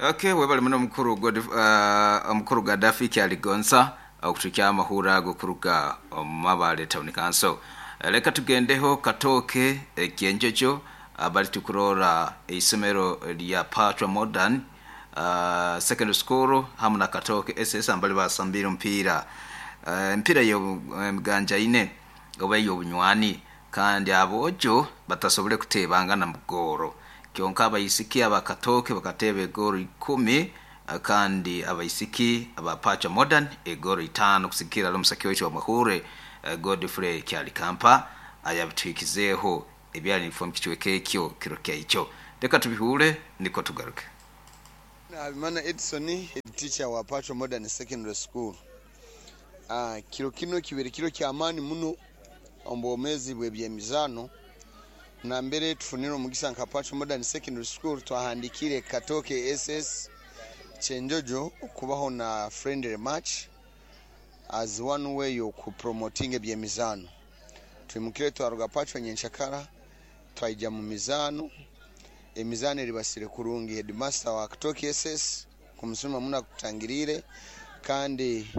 Okay, webale muno omukuru God, omukuru Gaddafi Kyaligonza okutuhikyaho amahurre ago kuruga omu Mabale Town Council. Leka tugendeho Katooke Kyenjojo abali tukuroora eisomero lya Pachwa Modern Secondary School hamu na Katooke SS ambali basambiire omupiira emipiira y'emiganjaine oba ey'obunywani kandi aboojo batasobole kuteebangana mu goolo. Kyonka abaisiki aba Katooke bakateeba egoolo ikumi kandi abaisiki aba Pachwa Modern egoolo itaano kusigikirra hali omusaki waitu w'amahuurre Godfrey Kyalikampa ayabituhikizeeho ebyali nibifa omu kicweka ekyo kiro kyaikyo. Leka tubihuure nikwo tugaruke. Habimana Edson, Head Teacher wa Pachwa Modern Secondary School. Kiro kinu kibaire kiro ky'amaani muno omu bwomeezi bw'eby'emizaano nambere tufunire omugisa nka Pachwa Modern Secondary School twahandikiire Katooke SS Kyenjojo kubaho na friendly match as one way y'oku promotinga eby'emizaano. Twimukire twaruga Pachwa nyenkyakara twaija mu mizaano, emizaano eribasire kurungi. Headmaster wa Katooke SS kumusiima muno akutangiriire kandi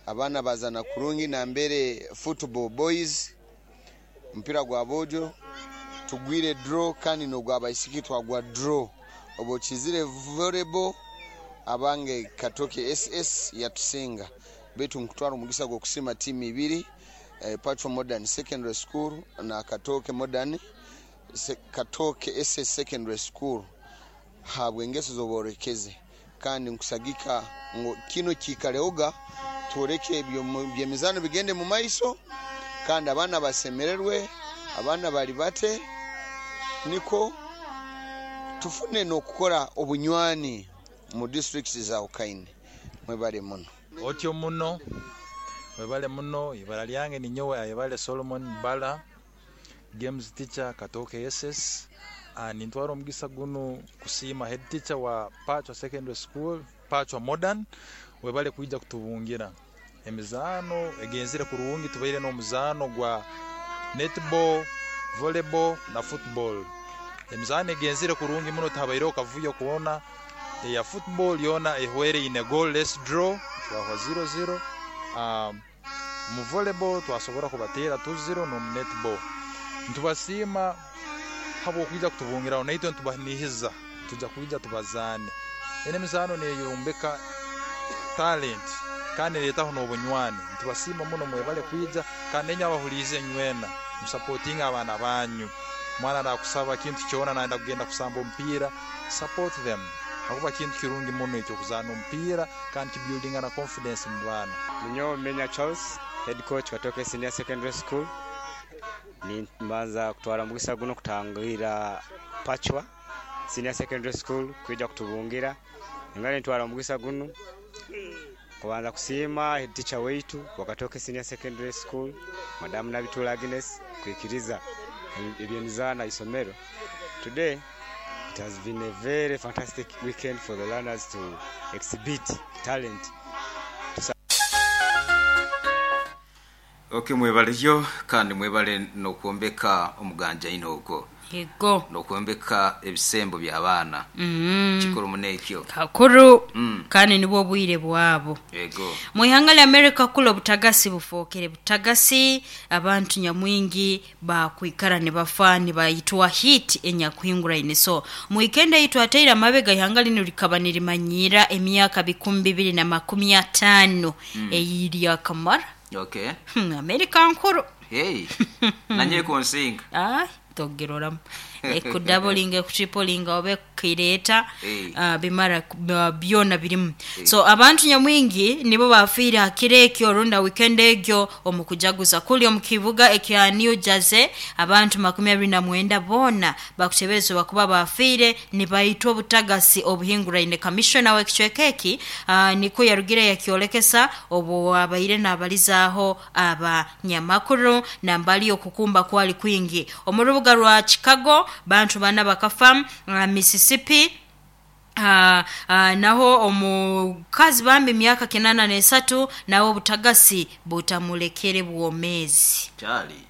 abaana bazaana kurungi nambere football boys omupiira gwa boojo tugwire draw kandi n'ogwabaisiki twagwa draw. Obu okizire volleyball abange Katooke SS yatusinga beitu nkutwara omugisa gw'okusiima tiimu ibiri Pachwa Modern Secondary School na Katooke Modern Katooke SS Secondary School habw'engeso z'oboolekeze kandi nkusagika ngu kinu kiikalehoga twoleke eby'emizaano bigende mu maiso kandi abaana basemererwe, abaana balibate nikwo tufune n'okukora obunywani mu disiturikiti ezaahukaine. Mwebale muno. Otyo muno. Webale muno. Ibara lyange ninyowe Ayebare Solomon Bbala, Games Teacher Katooke SS. Nintwara omugisa gunu kusiima Head Teacher wa Pachwa Secondary School, Pachwa Modern, webale kwija kutubungira. Emizaano egenzire kurungi, tubaire n'omuzaano gwa netball, volleyball na football. Emizaano egenzire kurungi muno tihabaireho kavuyo koona. Eya football yoona ehweire in a goal less draw, twahwa ziro ziro. Omu volleyball twasobora kubateera tu ziro n'omu netball. Nitubasiima habw'okwija kutubungiraho naitwe nitubanihiza nitwija kwija tubazaane. Enu emizaano neyombeka talent kandi neretaho n'obunywani. Nitubasiima muno mwebale kwija kandi nainywe abahuliize inywena musapotinge abaana banyu. Omwana nakusaba kintu kyona nayenda kugenda kusamba omupiira, support them habwokuba kintu kirungi muno eky'okuzaana omupiira kandi kibuildinga na confidence mu baana. Ninyowe Menya Charles, Head Coach Katooke Senior Secondary School. Nimbanza kutwara omugisa guno kutangirira Pachwa Senior Secondary School kwija kutubungira. Nyongera nintwara omugisa gunu kubanza kusiima Head Teacher waitu wa Katooke Senior Secondary School, Madam Nabituula Agnes kwikiriza eby'emizaano aha isomero. Today it has been a very fantastic weekend for the learners to exhibit talent. Ok mwebaleyo kandi mwebale nokwombeka omuganjaine ogwo. Yego. Nokwombeka ebisembo bya baana. Kikuru muno ekyo. Kakuru kandi nibwo obwire bwabo. Yego. Mu ihanga lya America kule obutagasi bufookere butagasi, abantu nyamwingi baakwikara nibafa nibaitwa heat enyakuhinguraine. So mu weekend ei twataire amabega ihanga linu likaba nirimanyiira emyaka 2050 ei lyakamara. Okay. America nkuru. Hey. Nanye ekunsinga. Aye togiroramu. Ekudabolinga ekutripolinga oba ekukireeta Hey. bimara byona birimu. Hey. So abantu nyamwingi nibo baafiire ha kiro ekyo rundi ha weekend egyo omu kujaguza kuli omu kibuga ekya New Jersey abantu 29 boona bakuteberezebwa kuba baafiire nibaitwa obutagasi obuhinguraine. Kamishona w'ekicweka eki nikwo yarugire yakyolekesa obu abaire nabalizaaho abanyamakuru nambali okukumba kwali kwingi omu rubuga rwa Chicago bantu bana bakafa, Mississippi naho omukazi bambi myaka 83 nawe obutagasi butamulekere bwomeezi. Kyali.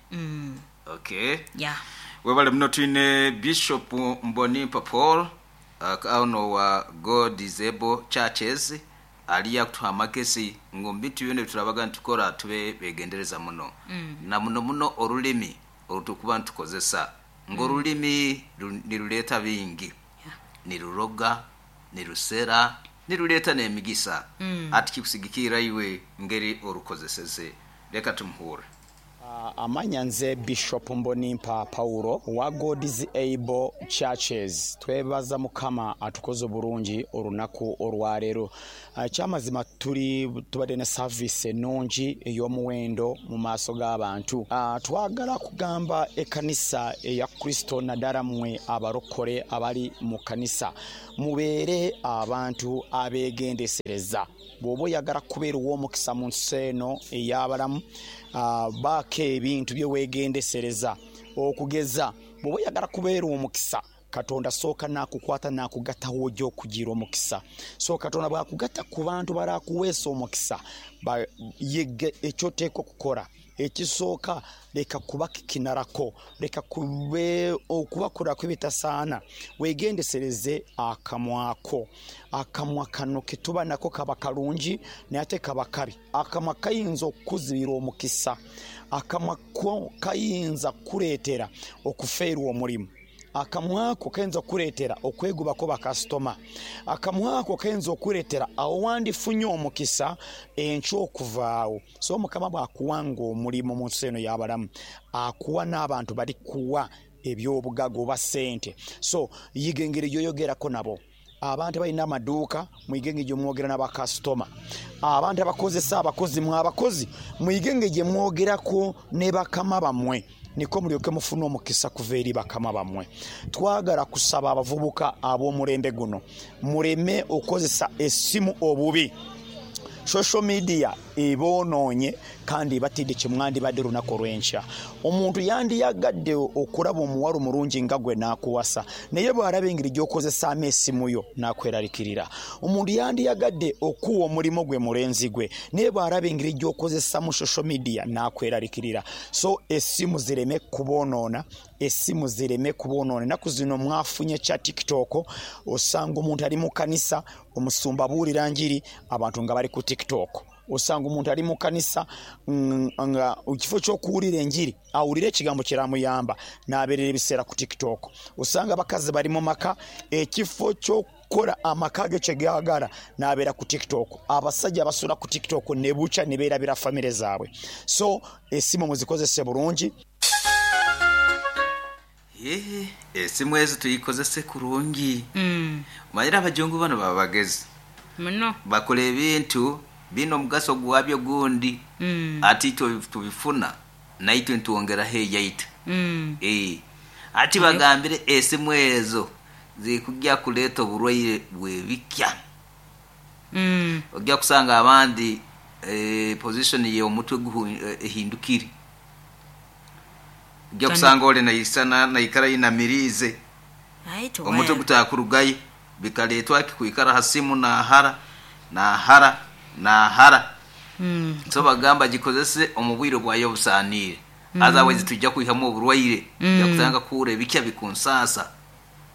Okay. Yeah. Webale muno twine Bishop Mbonimpa Paul. Ono wa God is Able Churches aliyo akutuha amagezi ngu omu bintu byona ebiturabaga nitukora tube begendereza muno. Na muno muno orulimi orutukuba nitukozesa, ngu orulimi niruleeta bingi, niruroga, nirusera, niruleeta n'emigisa. Hati kikusigikirra iwe ngeri orukozeseze. Leka tumuhurre. Amanya nze Bishop Mbonimpa Paulo owa God's Able Churches. Twebaza Mukama atukoze oburungi orunaku orwaleero. Ekyamazima tuli tubadde ne service enungi ey'omuwendo mu maaso g'abantu. Twagala kugamba ekanisa eya Kristo naddala mmwe abalokole abali mu kanisa, mubeere abantu abegendesereza. Bw'oba oyagala kubeera ow'omukisa mu nsi eno ey'abalamu, baako ebintu bye weegendesereza. Okugeza, bw'oba oyagala kubeera omukisa, Katonda sooka n'akukwata n'akugata w'oja okugira omukisa. So Katonda bw'akugata ku bantu barakuweesa omukisa, yiga eky'oteekwa okukora. Ekisooka, leka kubakikinarako, leka okubakoraku ebitasaana, weegendesereze akamwa ko. Akamwa kano ketuba nako kaba kalungi naye ate kaba kabi. Akamwa kayinza okukuzibira omukisa, akamwa ko kayinza kukuleetera okufeerwa omulimu, akamwa ko kayinza okukuleetera okwegobako bakasitoma, akamwa ko kayinza okukuleetera awo wandifunye omukisa enkya okuvaawo. So Mukama bw'akuwanga omulimu mu nsi eno y'abalamu, akuwa n'abantu balikuwa eby'obugaga oba sente. So yiga engeri gy'oyogerako nabo. Abantu abalina amaduuka mwige engeri gyemwogera n'abakasitoma. Abantu abakozesa abakozi, mwe abakozi mwige engeri gyemwogerako ne bakama bammwe, niko mulyoke mufune omukisa kuva eri bakama bammwe. Twagala kusaba abavubuka ab'omulembe guno muleme okukozesa essimu obubi. Social media ebonoonye kandi ebatidde kye mwandibadde olunaku olw'enkya. Omuntu yandiyagadde okulaba omuwala omulungi nga gwe n'akuwasa, naye bw'alaba engeri gy'okozesaamu esimu yo n'akweraliikirira. Omuntu yandiyagadde okuwa omulimu gwe mulenzi gwe, naye bw'alaba engeri gy'okozesamu social media n'akweraliikirira. So esimu zireme kubonoona, esimu zireme kubonoona. Ennaku zino mwafunye kya TikTok, osanga omuntu ali mu kanisa, omusumba abuulira njiri, abantu nga bali ku TikTok. Osanga omuntu ali mu kanisa nga ekifo ky'okuwulira enjiri awulire ekigambo kiramuyamba n'abeerera ebiseera ku TikTok. Osanga abakazi bali mu maka, ekifo ky'okukola amaka ge kye gaagala n'abeera ku TikTok. Abasajja basula ku TikTok ne bukya ne beerabira famire zaabwe. So esimu muzikozese bulungi. Eeh, esimu ezo tuyikozese kurungi. Omanyire abajungu bano baba bagezi. Muno. Bakola ebintu biine omugaso gwabyo gundi, ate itwe tubifuna naitwe nitwongeraho eyaitu. Eeh, ati bagambire esimu ezo ziri kugya kuleeta oburwaire bw'ebikya. Ogya kusanga abandi position y'omutwe ehindukire. Ojja kusanga ole naisana naikara ainamiriize, omutwe gutakurugayo. Bikaleetwa ki? Kwikara ha simu naahara, naahara, naahara. So bagamba gikozese omu bwire bwayo obusaaniire. Otherwise twija kwihamu oburwaire, ojja kutandika kuhurra ebikya bikunsaasa.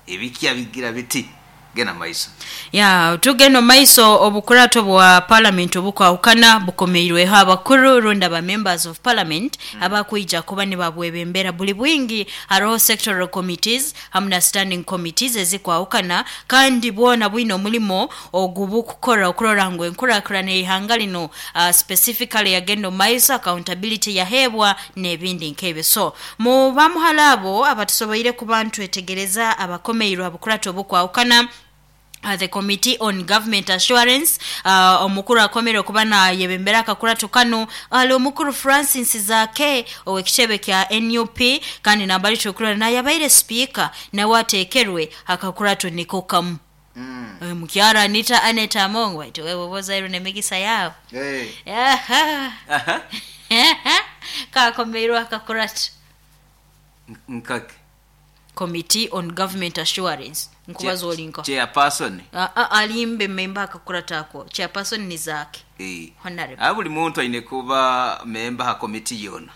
Ebikya bigira biti, Genda mu maiso. Ya, tugenda omu maiso, obukurato bwa Palamenti obukwahukana bukomeirweho abakuru rundi aba Members of Parliament abakwija kuba nibabwebembera buli bwingi. Haroho Sectoral Committees hamu na Standing Committees ezikwahukana kandi bwona bwine omulimo ogubukukora okurora ngu enkurakurana ey'ihanga lino specifically yagenda omu maiso, accountability yaheebwa n'ebindi nk'ebyo. So, Mu bamuhala abo abatusoboire kuba nitwetegereza abakomeirwe ha bukurata obukwahukana, The Committee on Government Assurance, omukuru akomeire okuba nayebembera akakurato kanu ali omukuru Francis Zaake ow'ekitebe kya nup kandi nambali tukurora nayabaire sipiika nawe atekerwe hakakurato niko kamu. Mukyara Anita Annet Among baitu wewe oba ozairwe n'emigisa yaawe. Aha. Kakomeirwe akakurato. Nkake. Committee on Government Assurance. Nkubaza olinka. Chairperson. Alimbe memba akakuratako. Chairperson ni zake. Honorable. Buli muntu aine kuba memba ha committee yona.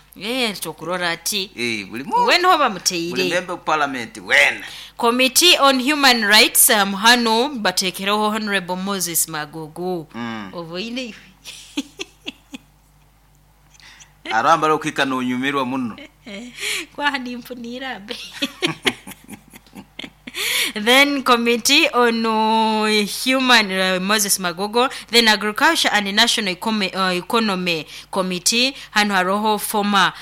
Tokurora ati. Buli muntu. Wena hoba muteire. Buli memba of parliament wena. Committee on Human Rights hano batekereho Honorable Moses Magogo. Oboine. Arambara okika nonyumirwa muno. Kwa nimpunira be. Then Committee on Human Moses Magogo, then Agriculture and National Economy Committee, hano haroho former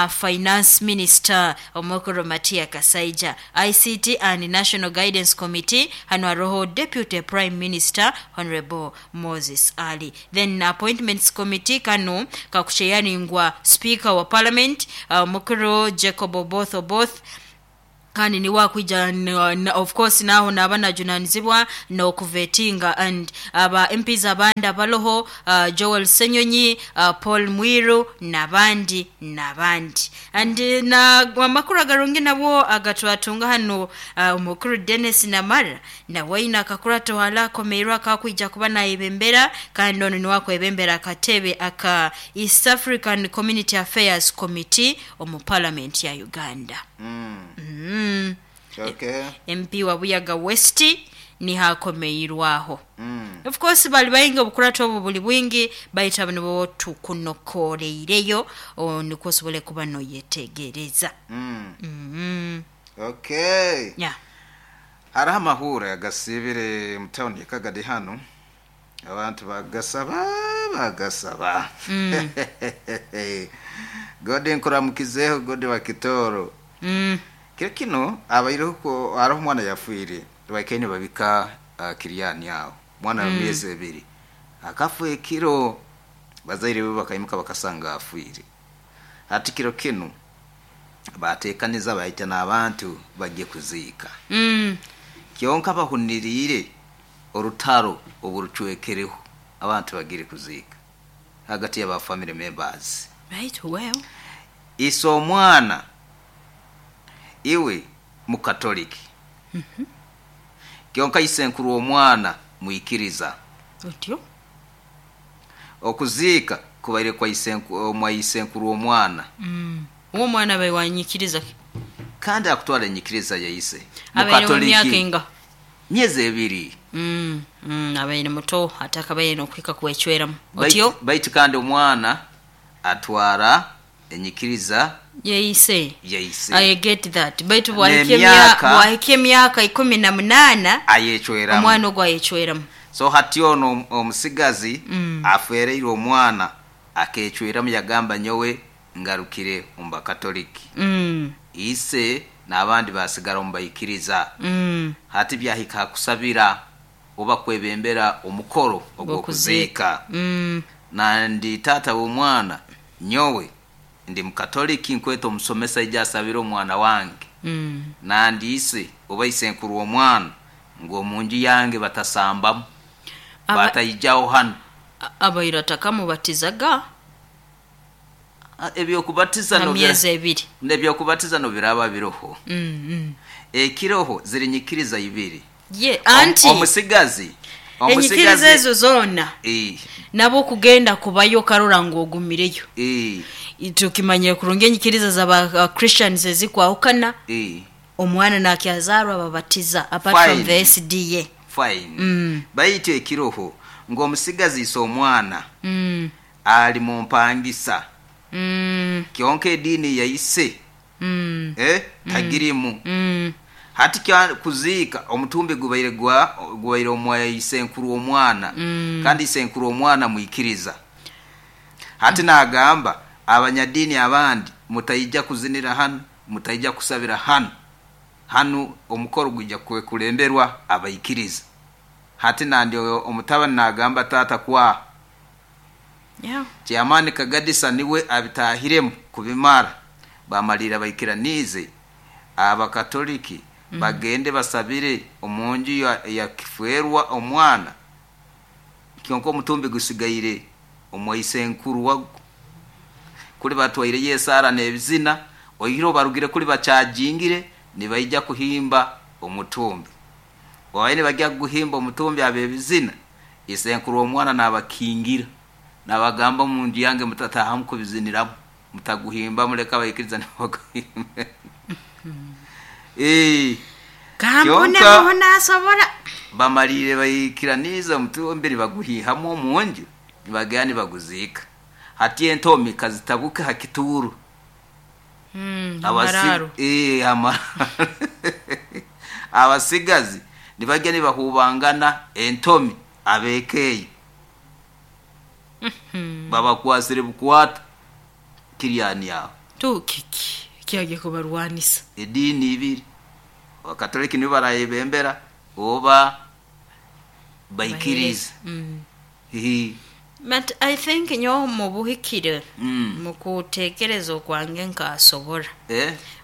Finance Minister Omokoro Matia Kasaija. ICT and National Guidance Committee, hano haroho Deputy Prime Minister Honorable Moses Ali. Then Appointments Committee kano kakucheyaningwa Speaker wa Parliament Omokoro Jacob Oboth Oboth. Kandi ni wakwija of course naho nabana junanizibwa no kuvetinga and aba MPs abandi abaloho Joel Senyonyi, Paul Mwiru nabandi and na amakuru agarungi nabo agatwatunga hano umukuru Dennis Namara na waina akakurato hala komeirwa kakwija kuba na ibembera kandi ono ni wako ibembera akatebe aka East African Community Affairs Committee omu Parliament ya Uganda. Okay. MP wa Buyaga West ni hakomeirwaho. Of course bali bayinga obukurato obu buli bwingi bayita bano bo tukunokoleireyo niko sobole kuba no yetegereza. Okay. Yeah. Hariho amahura agasibire mu town ya Kagadi hano abantu bagasaba. Gode nkuramukizeho gode wa Kitoro. Kiro kino abairiho ko ariho omwana yafiire baikaine babika kiriyani aho mwana wa myezi 2 akafa ekiro bazaire be bakaimuka bakasanga afiire. Hati kiro kino bateekaniza baita n'abantu bagiye kuziika. Kyonka bahuniriire orutaro oburucwekereho abantu bagire kuziika hagati y'aba family members. Right, well. Iso omwana iwe mukatoliki. Kyonka isenkuru omwana muikiriza. Otyo? Okuziika kubaire kwa isenkuru omwana. Uwo mwana bae wanyikiriza. Kandi akutwala enyikiriza ya ise. Mukatoliki. Myezi 2. Abaire muto atakabaire nokwika kuwechweramu. Otyo? Baitu kandi omwana atwara enyikiriza yeise. Yeise. I get that. Baitu bwahike emyaka 18 ayechweramu. Omwana ogwo ayechweramu. So hati ono omusigazi afereire omwana akechweramu yagamba nyowe ngarukire omu bakatoliki. Ise n'abandi basigara omu bayikiriza. Hati byahika kusabira oba kwebembera omukoro ogw'okuziika. Nandi tata w'omwana nyowe ndi mukatoliki nkweta omusomesa ija asabira omwana wange. Nandi ise oba isenkuru omwana ngu omunju yange batasambamu. Batayijaho hano. Abaira takamubatizaga. Ebyokubatiza no myezi 2. Nebyokubatiza no biraba biroho. Ekiroho ziri nyikiriza 2. Ye anti omusigazi enyikiriza ezo zona. Nabo kugenda kubayo karora ngo ogumireyo. Tukimanyire kurungi enyikiriza za Christians ezikwahukana. Omwana nakyazarwa babatiza apart from the SDA. Fine. Bayite ekiroho ngo omusigazi iso omwana. Ali mu mpangisa. Kyonka edini yaise. Tagirimu. Hati kya kuziika omutumbi gubaire gubaire omwa isenkuru omwana. Kandi isenkuru omwana muikiriza. Hati nagamba abanyadini abandi mutayija kuzinira hano, mutayija kusabira hano. Hano omukoro gujja kulemberwa abaikiriza. Hati nandi omutabani nagamba tata kwa Yeah. Chairman Kagadisa niwe abitahiremu kubimara. Bamalira baikiranize abakatoliki bagende basabire omunju ya kifwerwa omwana. Kyonka omutumbi gusigaire omwaisenkuru wago. Kuli batwaire yesara n'ebizina, oihiro barugire kuli bacajingire Nibaija kuhimba omutumbi. Babaire nibagya kuguhimba omutumbi ab'ebizina, isenkuru w'omwana naabakingira, naabagamba omu nju yange mutataahamu kubiziniramu, mutaguhimba muleke abaikiriza nibo baguhimbe. Eeh, Kampune kyonka muhu nasobora. Bamaliire baikiraniize omutumbi nibaguhiihamu omu nju nibagenda nibaguziika. Hati entomi kazitabuke ha kituuro. Amararo. Abasigazi nibagya nibahubangana entomi ab'eka eyo babakwasire bukwata kiryani aho. Tu kiki kyagya kubarwanisa? Ediini ibiri, Abakatoliki nibo barayebembera oba baikiriza. But I think nyowe mubuhikire mukutekereza okwange nkasobora.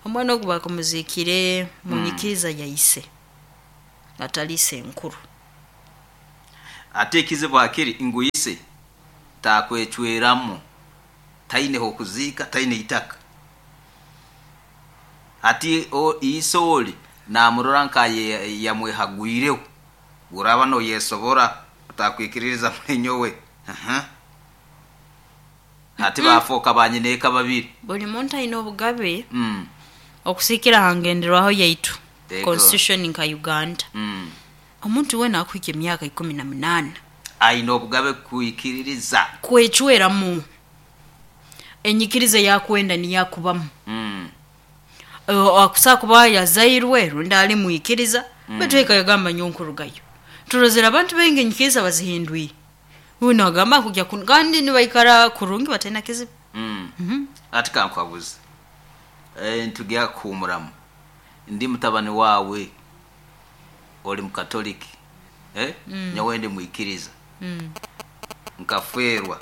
Omwana ogu bakumuzikire munyikiriza ya ise atali isenkuru. Ate ekizibu hakiri ngu ise takwecweramu, taine h'okuziika, taine itaka. Hati ise oli namurora nka yamwehagwireho, oraaba noyesobora otakwikiririza muli nyowe. Hati bafooka banyineeka babiri. Buli muntu aine obugabe okusiikira ha ngenderwaho yaitu, constitution nka Uganda. Omuntu weena akuhika emyaka 18. Aine obugabe kwikiririza. Kwecweramu enyikiriza ei akwenda niyo akubamu. Akusobola kuba yazairwe rundi ali mwikiriza baitu eka yagamba nyowe nkurugayo. Turozere abantu baingi enyikiriza bazihindwire. Obu nagamba nkugya kunu kandi nibaikara kurungi bataine kizibu. Hati kankuhabuze, nitugya kuhuumuramu. Ndi mutabani waawe, oli Mukatoliki, nyowe ndi mwikiriza. Nkafeerwa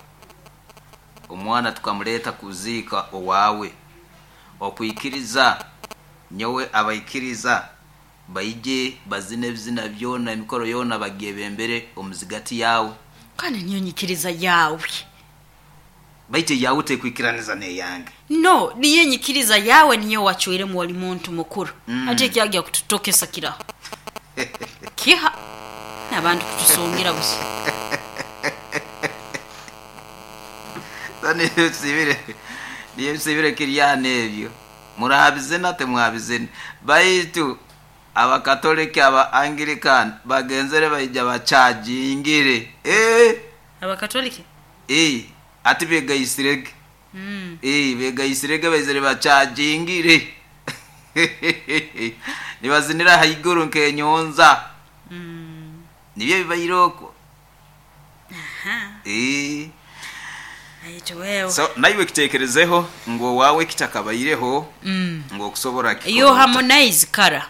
omwana tukamuleeta kuziika owaawe. Okwikiriza nyowe abaikiriza baije bazine ebizina byona, emikoro yoona bagyebembere omu zigati yaawe. Kandi niyo nyikiriza yaawe. Baitu eyaawe tekwikiraniza n'eyange. No, niyo enyikiriza yaawe niyo wacwiremu oli muntu mukuru. Hati ekyagya kututokesa kiraha? Kiha? N'abantu kutusungira busa. So niyo nsiibire kiryana ebyo. Muraabizina timwabizina. Baitu Abakatoliki, aba Anglican bagenzere baija bakyajingire. Eeh! Abakatoliki? Eeh, ati begaisirege. Eeh, begaisirege baizire bakyajingire. Nibazinira haiguru nk'enyonza. Nibyo ebibaire okwo. Eeh. Baitu wewe. So naiwe kitekerezeho ngu owaawe kitakabaireho ngu okusobora kikora Yo ota. Harmonize kara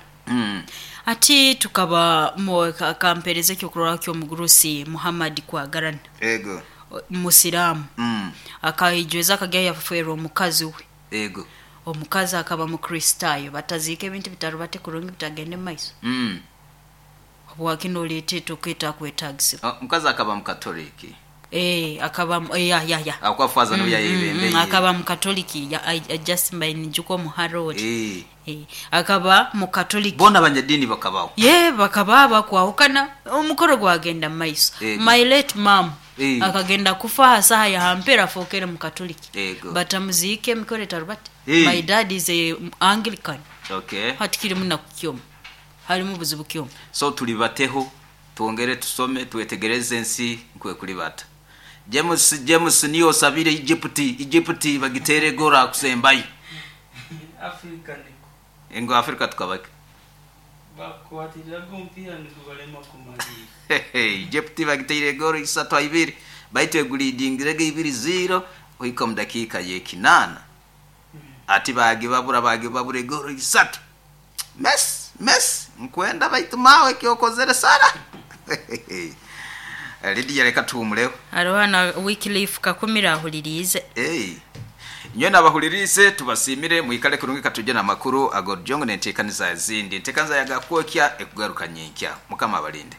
ati tukaba akampereza ekyokurorraho ky'omugurusi Muhammad Kwagarana. Ego. Musiraamu. Akaijweza akagya yafeerwa omukazi we. Ego. Omukazi akaba Mukristaayo bataziika ebintu bitarubate kurungi bitagende mu maiso. Habwaki noleeta etoko etakwetagisibwa? Omukazi akaba Mukatoliki. Eeh, akaba, ya, ya, ya. Ahabw'okuba faaza niwe yayebembeire. Akaba Mukatoliki. Ya, I, I just mbaire ninjuka omuhara ori. Akaba Mukatoliki. Boona abanyadiini bakabaho. Yee, bakaba bakwahukana, omukoro gwagenda mu maiso. My late mum akagenda kufa ha saaha ya ha mpero afookere Mukatoliki. Batamuziike emikoro etarubate. My dad is a Anglican. Hati kirimu naku ki omu? Harimu buzibu ki omu? So tulibateho, twongere tusome, twetegereze ensi nkwekulibata. James, James niyo osabire Egypt, Egypt bagiteere goal akusembayo. Africa niko. Ngu Africa tukabaki? Bakukwatiriraga omupiira nigubalema kumaliira. Egypt bagiteire goal isatu ha ibiri baitu egulidingirege ibiri ziiro kuhika omu dakiika y'ekinaana. Ati baagibabura baagibabura egoolo isatu. Messi, Messi, nkwenda baitu maawe eki okozere sara. Lydia leka tuhumuleho. Haroho na Wycliffe Kakumiro ahuliriize. Hey. Inywena abahuliriize tubasiimire, mwikale kurungi katuje n'amakuru ag'orujongo n'enteekaniza ezindi. Enteekaniza ya Gakwokya ekugaruka nyenkya. Mukama abalinde.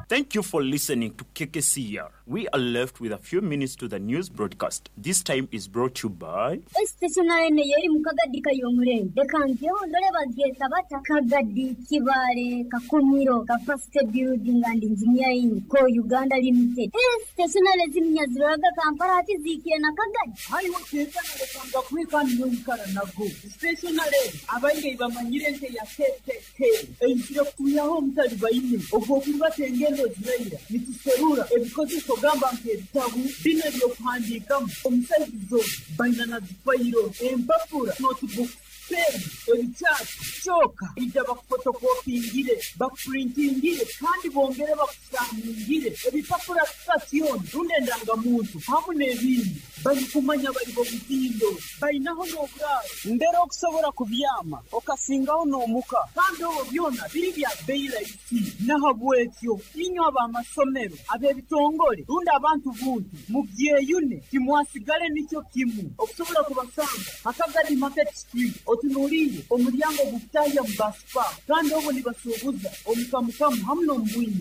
Thank you for listening to KKCR. We are left with a few minutes to the news broadcast. This time is brought to you by Stationary yeri mu Kagadi kayomurembe reka ngeho ndore bagyeta bata Kagadi, Kibale, Kakumiro, Capacity Building and Engineering Co Uganda Limited. Stationary ziminya ziroraga Kampala hati ziikire na Kagadi. Haiwe ketanalekanga kwekandi noikara nago stationary abaingi bamanyire nte ya KKK eizire kutuyaho omutali baine ogwokurubata engendo ziraira nituserura ebikozeso gamba nk'ebitabu bino ebyokuhandiikamu omusaizizo baina na zifayiro, empapura, notebook, pen, ebikyati kyoka ija bakufotokopingire, bakupurintingire kandi bongere bakusaningire ebipapura sitasioni rundi endangamuntu hamu n'ebindi. Balikumanya bali bomutindo balinaho n'oburaaro mbere okusobora kubyama okasingaho n'omuka kandi obwo byona biri bya bei rahisi. Nahabwekyo inywe ab'amasomero, ab'ebitongole rundi abantu buntu mubyeyune, timwasigale nikyo kimu. Okusobola kubasanga Hakagadi Market Street, otunuliire omulyango gukutahya mu basipa, kandi obwo nibasuubuza omukamukamu hamu n'omubwingi.